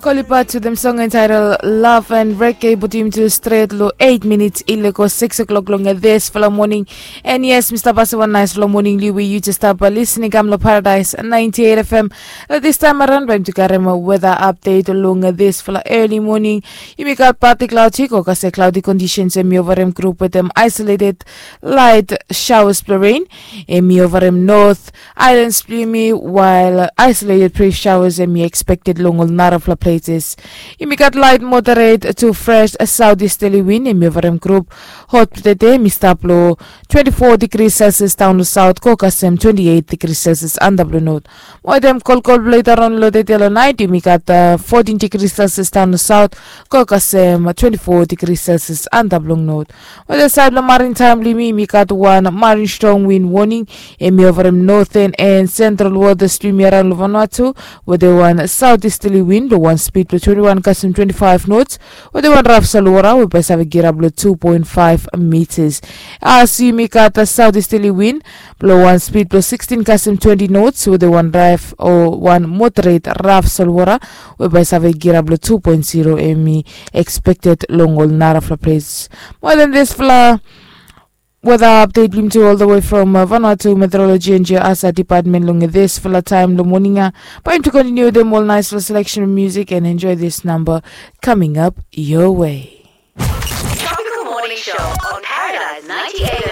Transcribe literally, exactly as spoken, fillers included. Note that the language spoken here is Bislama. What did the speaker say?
Kolipat wetem song entitled Love and Reggae putim tu stret long eight minutes i lego six o'clock long this fala morning. And yes, Mr. Basi, one nice long morning liwi you just start by listening kam long Paradise ninety-eight F M. This time around baim tu karem weather update long this fala early morning. Yumi gat partly cloudy ko kase cloudy conditions em yovarem group wetem isolated light showers blong rain. Em yovarem north Islands blong yumi, while isolated brief showers em i expected long ol narafala places. Yumi gat light moderate to fresh southeasterly wind em i ovarem group. Hot blong tede em i stap long twenty-four degrees Celsius daon long south go kasem twenty-eight degrees Celsius antap long north. Mo wetem kolkol blong leta raon long tede long nait yumi gat uh, fourteen degrees Celsius daon long south go kasem twenty-four degrees Celsius antap long north. Wetem sait blong marin taem blong yumi yumi gat wan marin strong wind warning. Em i ovarem northern and central waters blong yumi araon long Vanuatu wetem wan southeasterly wind blong wan speed blong twenty-one kasem twenty-five knots wetem wan raf solwota we bae save girap long two point five meters. As yumi gat a southeasterly wind blong wan speed blong sixteen kasem twenty knots wetem wan raf o wan moderate raf solwota we bae save girap long two point zero em i expected long ol narafala places. Mo wetem this fala weather update blong yumi tu all the way from uh, Vanuatu Meteorology and Geohazard Department long this fala taem long morning. Bae yumi tu continue wetem ol nice fala selection music and enjoy this number coming up your way. Tropical Morning Show on Paradise ninety-eight